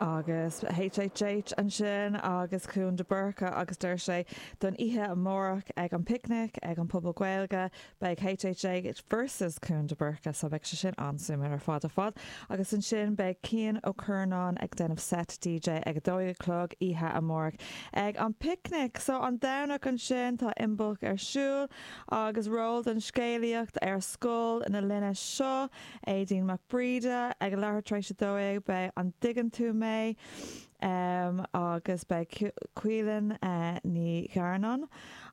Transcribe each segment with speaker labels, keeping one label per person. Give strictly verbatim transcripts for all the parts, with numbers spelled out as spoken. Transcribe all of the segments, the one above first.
Speaker 1: Agus HHH ansin agus Cuan de Búrca agus deir sé don oíche amárach ag an Picnic ag an Phuball Gaeilge beidh HHH versus Cuan de Búrca so beidh sé sin an-suimiúil ar fad ar fad agus ansin beidh Cian Ó Curnáin ag déanamh set DJ ag a dó a chlog oíche amárach ag an Picnic so an Domhnach ansin tá Imbolc ar siúl agus ról don scéalaíocht ar scoil na linne seo Aideen Mac Bríde ag a leathuair tar éis a dó beidh an dtuigeann tú mé um, agus beidh Cuilan uh, Ní Ghearnáin.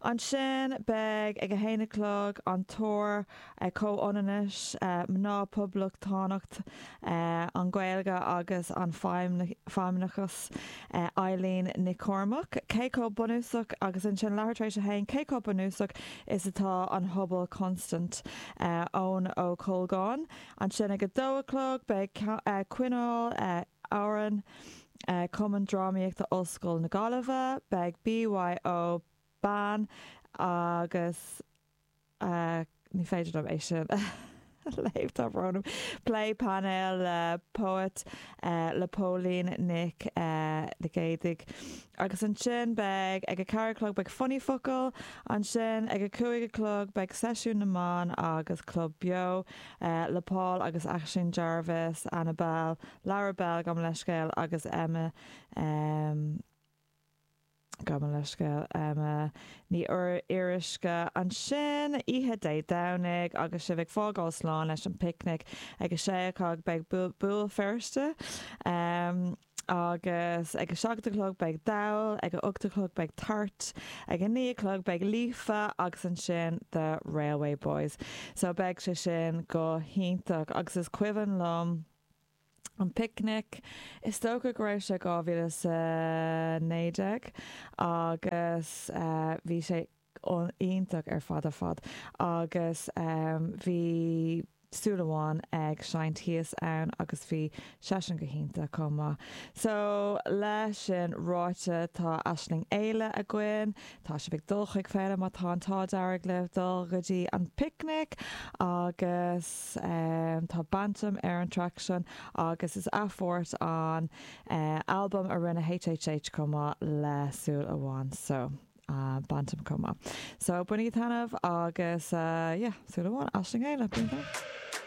Speaker 1: Ansin beidh ag a haon a chlog an tóir uh, comhionannais uh, mná poblachtánacht uh, an Ghaeilge agus an feimineachas uh, Eileen Nic Cormaic. Cé chomh bunúsach agus ansin leathuair tar éis a haon cé chomh bunúsach is atá an Hubble Constant uh, ón Ó Colgáin. Ansin ag a dó a chlog beidh uh, coinneáil uh, áran uh, Cumann Drámaíochta Ollscoil na Gaillimhe, beidh BYO ban agus uh, ní féidir liom é sin léamh tá brón orm. Plé painéil le poet uh, le Pauline Nic uh, le Géidigh. Agus ansin beidh ag a ceathair a chlog beidh Funny Focal, ansin ag a cúig a chlog beidh seisiún na mban agus Club Beo uh, le Paul agus Aisling Jarvis, Annabelle, Lara Bell gabh mo leithscéal agus Emma um, gabh mo leithscéal Emma Ní Fhíoruisce ansin oíche Dé Domhnaigh agus sibh ag fágáil slán leis an Picnic ag a sé a chlog beidh Béal Feirste. Um, agus ag a seacht a chlog beidh dall, ag a ocht a chlog beidh tart, ag a naoi a chlog beidh Líofa agus ansin the Railway Boys. So beidh sé sin go hiontach agus is cuimhin liom an picnic is dócha go raibh sé dhá mhíle sa naoi déag agus uh, bhí sé iontach ar fad ar fad agus um, bhí Súil Amháin ag seinnt thíos ann agus bhí seisean go hiontach chomh maith. So leis sin ráite tá Aisling Éile againn, Tá sibh ag dul chuig féile má tá an t-ádh dearg le dul go dtí an picnic agus um, tá Bantam ar an track sin agus is athphort an uh, album a rinne HHH chomh maith le Súil Amháin so. Uh, Bantam chomh maith. So bainigí taitneamh agus uh, yeah, Súil Amháin Aisling Éile.